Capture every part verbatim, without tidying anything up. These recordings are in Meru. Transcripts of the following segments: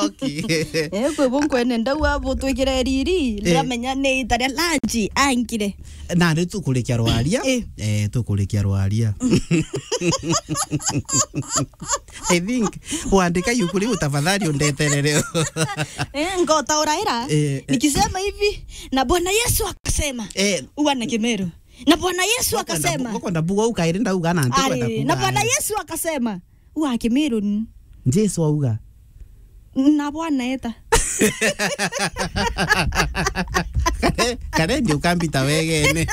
Okay. Eh, kwi bu nkwene ndauga butwikire riri, eh, ndiramenya ni ita ria lunch angire. Na ni tukurikia rwaria. Eh. Eh, tukurikia rwaria. I think wandika yuku riu tafadhali undeterere. Eh, ngotauraira. Eh, eh. Nikisema hivi, na Bwana Yesu akasema. Eh. Uga na Kimeru. Na Bwana Yesu akasema. Ngokwenda mbuga ukairi ndauga na ntikwenda kuga. Na Bwana Yesu akasema. Uga Kimeru ni. Jesu auga. Na Bwana eta. Kare, kare ndio ukambita wegene.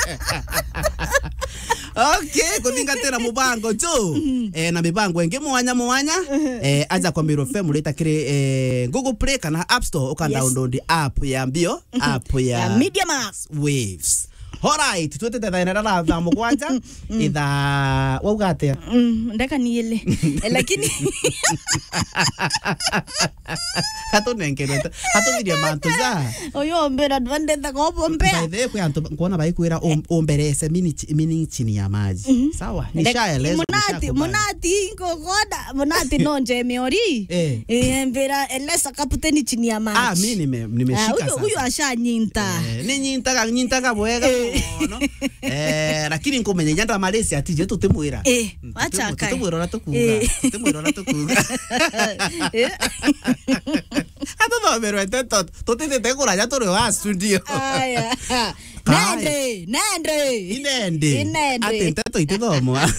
Okay, kuthingatira mubango tu. Eh, na mibango ingi mwanya mwanya. Eh, aja kwa Meru F M rita kiri, eh, Google Play kana App Store, uka, yes, download app ya mbio, app ya, ya Media Max. Waves. Alright, twetete thaa inene na thaa mugwanja. Ithaa, wauga atia? Mm, ndeka ni ile. Eh, lakini katunengerwe, katuthirie mantu ja. Uyu ombera ndwendete kobombea. By the way, kwi antu nkwona baikwira um-, umberece mini chi-, mini chini ya maji. Mhm. Sawa, nishaelezwa, munati, nishakubali. Munati, nkogoda, munati no nje miori. Eh. Eh, mbira elesa kaputeni chini ya maji. Ah, mimi nime-, nimeshika. Ah, huyu, sasa. Huyu ashanyinta. Eh, ni nyintaga, nyintaga bwega mono. Eh, lakini nkumenya inya ndamarisi ati je tutimwira. Eh, mm, acha tutimwira, kai. Tutimwira uria tukuga. Eh. Tutimwira uria tukuga. Eh. Atuthomerwe nteto, tutitite kuraja turi wa studio. Aya. Kai. Nende, nende. Inende. Inende. Ati nteto itithomwa.